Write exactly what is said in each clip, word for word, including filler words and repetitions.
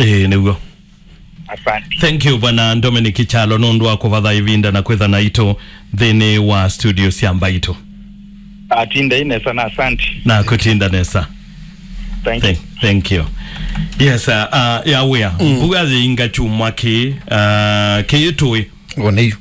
Ĩĩ, nĩw'o. Asante. Thank you, Bwana Dominic Kyalo, nũndũ wa kũvatha ĩvinda na kwĩtha naitũ nthĩnĩ wa studio sya Mbaitũ. Atindai nesa na asante. Na kũtinda nesa. Thank you. Thank, thank you. Yes, uh, uh, ya wĩa. Mm. Mbua yĩinga kyumwa kĩ, uh, kĩĩ tũĩ. Ũnĩ yu.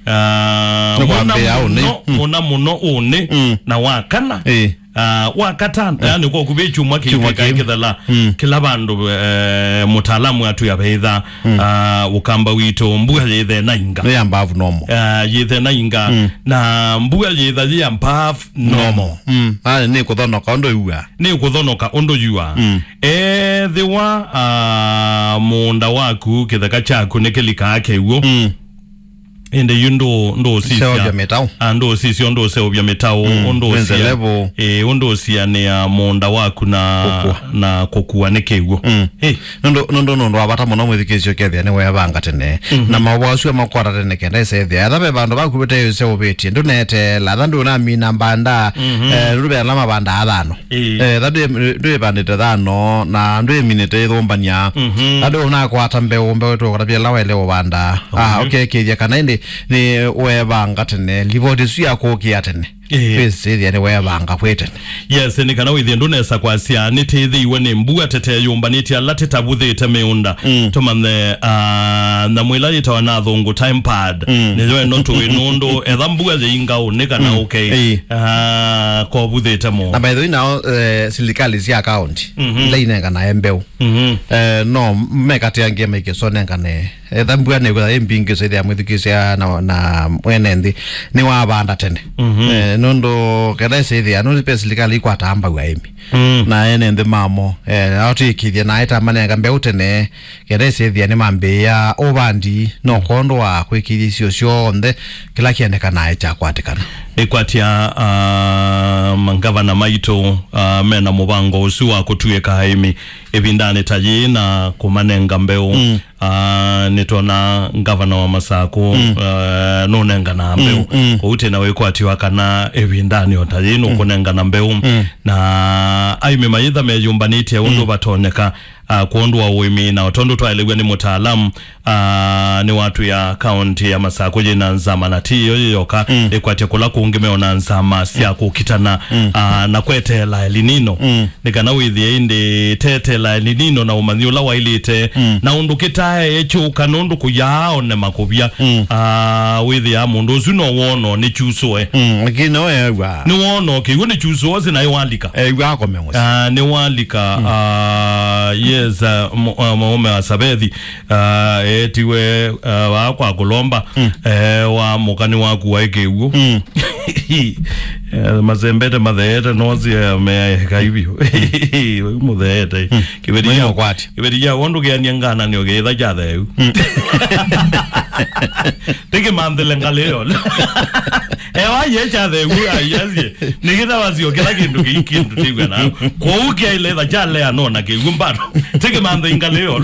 Uh, Nĩ mũna kwambĩa ũnĩ. Mũno, Mm. mũna mũno ũnĩ Mm. na wa kana. Ĩĩ. Ah, wa katano, yani, kwa kuvĩ kyumwa kĩu Kyumwa kĩu. Kĩthela, Mm. kĩla vandũ, eh, mũtaalamu atu yavetha, Mm. ah, ũkamba witũ, mbua yĩthe na inga. Nĩ above normal. Ah, yĩthe na inga, Mm. na mbua yĩtha yĩ above normal. Normal. Mm. Ah, nĩ kũthonoka ũndũ yua. Nĩ kũthonoka ũndũ yua. Mm. Ethĩwa, ah, mũũnda waku, kĩtheka kyaku nĩ kĩlikaa kĩw'ũ. Mm. Ĩndĩ yu ndũ-, ndũũsisya. Seũvya mĩtaũ. Ah, ndũũsisya, ndũũseũvya mĩtaũ, Mm, ũndũũsya. Wĩnze level. Ĩĩ, ũndũũsya nĩ ya mũũnda waku na, Kũkua. na kũkua nĩ kĩw'ũ. Mm. Ĩĩ. Nũndũ, nũndũ, nũndũ wa vata mũno mwĩthukĩĩsya ũkethĩa nĩ weevanga tene. Mhm. Na maũvoo asu makwata tene kenda ĩsethĩa. Etha ve vandũ vaku vate ũseũvĩtye, ndũneteela. Etha ndũnamina mbanda, Mhm. eh, ndũve ala mavandaa thano. Ĩĩ. Eh, etha ndwĩ-, ndwĩvandĩte thano, na ndwĩminĩte ĩthũmbany'a. Mhm. Etha ndũnakwata mbeũ, mbeũ ĩtũkũtavya ĩla waĩle ũvanda. Ah, Mhm. ũkekĩĩthya kana ĩndĩ nĩ weevanga tene, livoti ĩsu ya kũkĩa tene. Ĩĩ. Wĩsĩthĩa nĩ weevanga kwĩ tene. Yes, nĩ kana wĩthĩe ndũnesa kwasya nĩtĩthĩiwe nĩ mbua tete yũmbanĩtye ala tĩtavuthĩte mĩũnda. Mm. Tũmanye, ah, nyamũ ĩla yĩtawa na athũngũ time pad. Mm. Nĩyo ĩno tũĩ nũndũ etha mbua yĩinga ũnĩ kana Mm. ũkei. Ĩĩ. Ah, kovuthĩte mũũnda. Na by the way, nao, eh, silikalĩ sya kaunti, Mhm. ila inenganae mbeũ. Mhm. Eh, no mekatĩangie maikĩsonengane. Etha mbua nĩkwĩtha ĩ mbingĩ, so ĩthĩa mwĩthukĩĩsya na, na mwene nthĩ nĩwavanda tene. Mhm. Eh, nũndũ ketha ĩsĩthĩa, nũndũ pe silikalĩ ikwataa mbau aĩmi. Mm. Na ene nthĩ mamo, eh, ao twĩkĩthye na aĩta manenga mbeũ tene, ketha ĩsĩthĩa nĩmambĩĩa ũvandi, no kondũ wa kwĩkĩthya isio syonthe, kĩla kĩendekanae kyakwatĩkana. Nĩkwatya, ah, mangavana maitũ, ah, mena mũvango ũsu wa kũtuĩka aĩmi ĩvindanĩ ta yĩĩ na kũmanenga mbeũ. Mm. Ah, nĩtwona ngavana wa Masakũ, Mm. ah, nũnenganaa mbeũ. Mm, mm. Kwoou twĩ na wĩkwatyo wa kana ĩvindanĩ o ta yĩĩ nũkũnengana mbeũ. Mm. Na aĩmi mayĩtha meyũmbanĩtye ũndũ Mm. vatonyeka, ah, kwondũ wa ũĩmi, na o tondũ twaelew'a nĩ mũtaalamu, ah, nĩwatwĩa kaunti ya Masakũ yĩna nzama, na ti ĩyo yĩ yoka, Mm. ĩkwatya kũla kũngĩ meona nzama sya kũkitana, Mm. ah, na kweteela El Nino. Mm. Nĩ kana wĩthĩe ĩndĩ tetela El Nino na ũmanyi ũla waĩlĩte, Mm. na ũndũ kĩtae kyũka nũndũ kũyaa one makũvya. Mm. Ah, wĩthĩa mũndũ ũsu no wono nĩ kyusũe. Mm, lakini no ewa. Nĩ wono kĩw'ũ nĩ kyusũe, ũsi naĩ walika. Ewa akome mũsyĩ. Ah, nĩ walika. Mm. Ah, yes, ah, mũ-, ah, mũũme wa Savethi, ah, etiwe, ah, waa kwa kũlomba, Mm. eh, wa mũka nĩ wakuwa ĩkĩw'ũ. Mm. Eh, masembete matheete nosie meeka ivyo. Ũyu mũtheete. Mm. Kĩveti Mũyĩ kya, mũkwati. Kĩveti kya wondu kĩania ngana nĩ ũkĩtha kya theu. Mm. Tĩkĩmanthĩle ngalĩ yo. Ewa ye kya theu aiasie. Nĩkĩtha wasio kĩla kĩndũ kĩ kĩndũ tĩw'a na. Kwoou kyaile tha kyalea no na kĩw'ũ mbado. Tĩkĩmanthe ngalĩ yo.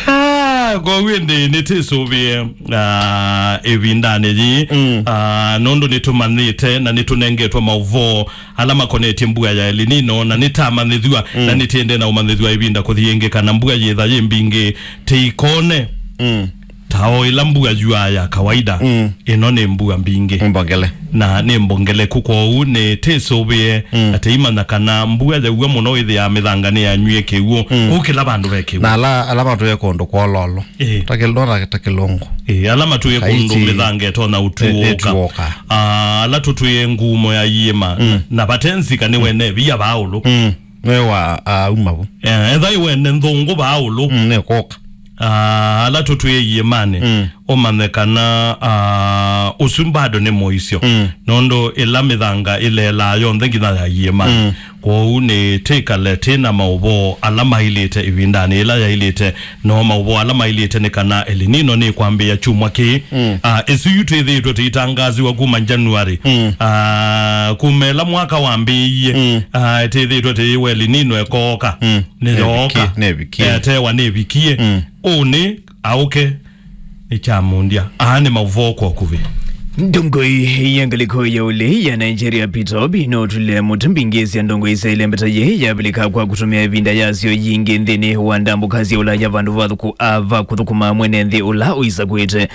Ah, kwoou ĩndĩ nĩtĩsũvĩe, ah, ĩvindanĩ yĩĩ. Mm. Ah, nũndũ nĩtũmanyĩte na nĩtũnengetwe maũvoo ala makonetye mbua ya El Nino, na nĩtamanyĩthw'a, Mm. na nĩtĩende na ũmanyĩthw'a ĩvinda kũthi ĩngĩ kana mbua yĩtha yĩ mbingĩ tĩikone. Mm. Ta o ĩla mbua yuaa ya kawaida, Mm. ĩno nĩ mbua mbingĩ. Mbongele. Na nĩ mbongeleku, kwoou nĩtĩsũvĩe Mm. atĩ imanya kana mbua yaua mũno ĩthĩaa mĩthanga nĩyanywie kĩw'ũ. Mm. Kũu kĩla vandũ ve kĩw'ũ. Na ala, ala matũĩe kũndũ kwololo. Ĩĩ. Ta kĩl-, no ta, ta kĩlũngũ. Ĩĩ, ala matũĩe kũndũ Kaisi. Mĩthanga ĩtonya Ĩ-, ũtuũka. Ĩtuũka. Ah, ala tũtwĩe ngumo ya iĩma. Mm. Na vate nzika nĩ wene via vaa ũlũ. Mm. Nĩ wa, ah, uma vu. Eh, etha ĩ wene nthũngũ vaa ũlũ. Mm, nĩ kũka. Ah, ala tũtwĩe iĩmanĩ, Mm. ũmanye kana, ah, ũsu bado nĩ mũisyo. Mm. Nũndũ ĩla mĩthanga ĩlelaa yonthe nginya ya iĩmanĩ. Mm. Kwoou nĩ tĩkale twĩ na maũvoo ala mailĩte ĩvindanĩ ĩla yailĩte. No maũvoo ala mailĩte nĩ kana El Nino nĩkwambĩĩa kyumwa kĩĩ. Mm. Ah, ĩsu yu twĩthĩĩtwe tũitangaasiwa kuma January. Mm. Ah, kuma ĩla mwaka wambĩĩie. Mm. Ah, twĩthĩĩtwe tũiw'a El Nino ĩkooka. Mm. Nĩyooka. Nĩvikie, nĩvikie. Etewa nĩvikie. Mm. Ũnĩ aũke nĩ kyamũndya. Aa nĩ maũvoo kwa ũkuvĩ. Ndongoi ya ngalĩko ya ũlei ya Nigeria Peter Obi nũtw'ĩle mũtĩ mbingĩ sya ndongoi sya ĩlembeta yĩĩ yavilĩka kwa kũtũmĩa ĩvinda yasyo yingĩ nthĩnĩ wa ndambũka sya Ũlaya vandũ va thũkũ-, a, va kũthũkũma mwene nthĩ ũla ũisakũĩte.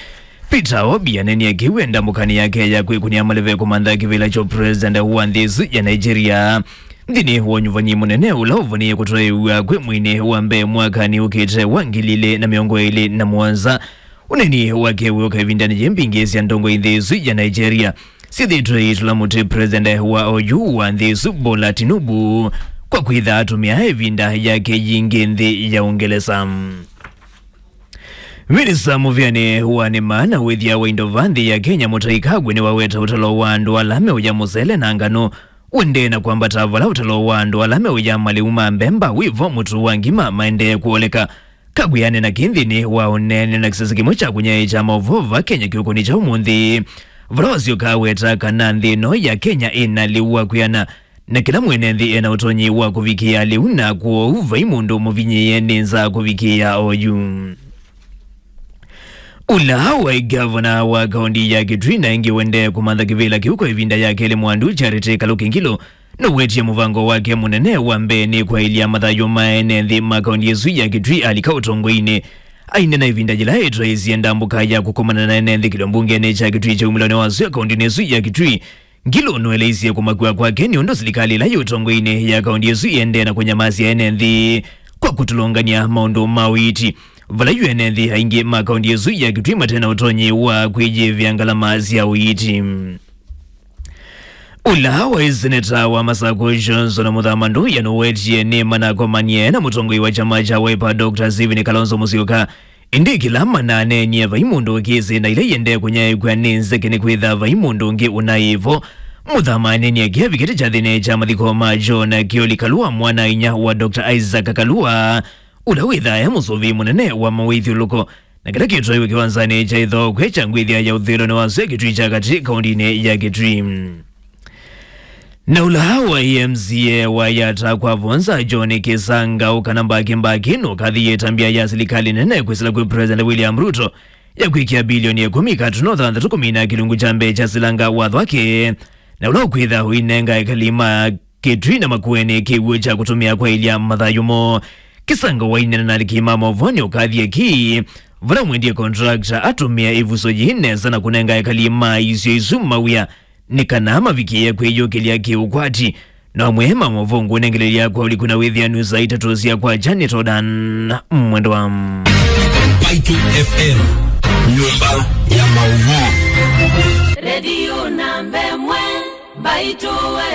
Peter Obi anenie kĩu e ndambũkanĩ yake ya kwĩkũnĩa maleve kũmantha kĩvĩla kya president wa nthĩ ĩsu ya Nigeria. Nthĩnĩ wa ũnyuvani mũnene ũla ũvonĩe kũtwaĩw'a kwĩ mweinĩ wa mbee mwakanĩ ũkĩte wa ngili ilĩ na mĩongo ĩlĩ na mũonza, ũneeni wake wĩũka ĩvindanĩ yĩ mbingĩ sya ndongoi nthĩ ĩsu ya Nigeria syĩthĩĩtwe iitũla mũtĩ president wa oyu wa nthĩ ĩsu Bola Tinubu kwa kwĩtha atũmĩa ĩvinda yake yingĩ nthĩ ya Ũngelesa. Minista mũvĩanĩ wa nĩma na wĩthĩa wa indo va nthĩ ya Kenya Mũtahi Kagwe nĩwaweta ũtalo wa andũ ala meũya mũsele na nganũ ũendee na kwambata vala ũtalo wa andũ ala meũya malĩu ma mbemba wĩvo mũtu wa ngima maendee kũoleka. Kagwe aneena kĩĩ nthĩnĩ wa ũneenany'a na kĩsese kĩmwe kya kũnyaĩĩkya maũvoo va Kenya kĩũkũnĩ kya ũmũnthĩ, vala wasyoka aweta kana nthĩ ĩno ya Kenya ĩna lĩu wa kwĩana, na kĩla mwene nthĩ ena ũtonyi wa kũvikĩĩa lĩu, na kwoou vai mũndũ mũvinyĩĩe nĩ nza kũvikĩĩa oyu. Ũla waĩ ngavana wa kaũnti ya Kitui na ĩngĩ ũendee kũmantha kĩvĩla kĩu kwa ĩvinda ya kelĩ Mwandu, Charity Kaluki Ngilu, nũwetie mũvango wake mũnene wa mbee nĩ kwaĩlya mathayũ ma ene nthĩ ma kaũnti ĩsu ya Kitui alika ũtongoinĩ. Aineena ĩvinda yĩla etwaĩisye ndambũka ya kũkomana na ene nthĩ kĩlio mbungenĩ kya Kitui kya umĩlonĩ wa sua kaũntinĩ ĩsu ya Kitui, Ngilu nũeleisye kũmakw'a kwake nĩ ũndũ silikalĩ ĩla yĩ ũtongoinĩ ya kaũnti ĩsu ĩendee na kũnyamasya ene nthĩ kwa kũtũlũngany'a maũndũ ma ũiiti, vala yu ene nthĩ aingĩ ma kaũnti ĩsu ya Kitui mate na ũtonyi wa kwĩyĩvĩa ngalama sya ũiiti. Ũla waĩ seneta wa Masakũ Johnson Mũthama Nduya nũwetie nĩ manakomanie na mũtongoi wa kyama kya Wiper Doctor Stephen Kalonzo Musyoka. Ĩndĩ kĩla mananeenie vai mũndũ ũkĩsĩ na ila iendee kũnyaĩĩkw'a nĩ nzeke nĩ kwĩtha vai mũndũ ũngĩ ũnaĩ vo. Mũthama aneenie kĩavikĩte kyathĩnĩ kya mathiko ma John Kioli Kalua, mwana-a-inyia wa Doctor Isaac Kalua, ũla wĩthaa e mũsũvĩi mũnene wa mawĩthyũlũko, na kĩla kĩtwaiwe kĩwanzanĩ kya ĩthookwe kya ngwĩthya ya ũthũĩlonĩ wa sua Kitui kya katĩ kaũntinĩ ya Kitui. Na ũla wa M C A wa Yatta kwa Vonza, John Kisangau kana Mbaki Mbaki, nũkathĩĩe ĩtambya ya silikalĩ nene kwĩsĩla kwĩ President William Ruto ya kwĩkĩa bilioni ĩkũmi katuno thanthatũ kũmina kĩlungu kya mbee kya silanga watho wake, na ũla ũkwĩtha ũinenga ekali ma Kitui na Makueni kĩw'ũ kya kũtũmĩa kwaĩlya mathayũ moo. Kisangau waineena na aliki ma maũvoo nĩ ũkathie ki vala mwendie contractor atũmĩa ĩvuso yĩĩ nesa na kũnenga ekali ma isio isu mawĩa nĩ kana mavikĩĩe kwĩyũkĩlya kĩũkwati. No amwe ma maũvoo ngũnengelelya kwa ũliku na wĩthĩanu saa itatũ sya kwakya nĩ Todan Mwendwa. Mbaitũ F M, nyũmba ya maũvoo. Redio namba ĩmwe, Mbaitũ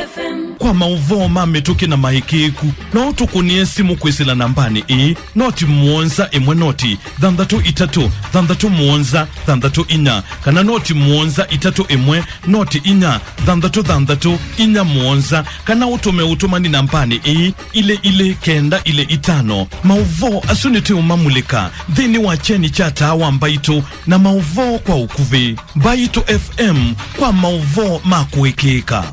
F M. Kwa maũvoo ma mĩtũkĩ na maĩkĩĩku, no ũtũkũnĩe simũ kwĩsĩla nambanĩ ĩĩ, noti mũonza ĩmwe noti thanthatũ itatũ thanthatũ mũonza thanthatũ inya, kana noti mũonza itatũ ĩmwe noti inya thanthatũ thanthatũ inya mũonza, kana ũtũme ũtũmani nambanĩ ĩĩ, ilĩ ilĩ kenda ilĩ itano. Maũvoo asu nĩtũũmamulĩka nthĩnĩ wa kyeni kya taa wa Mbaitũ na maũvoo kwa ũkuvĩ. Mbaitũ F M kwa maũvoo ma kũĩkĩĩka.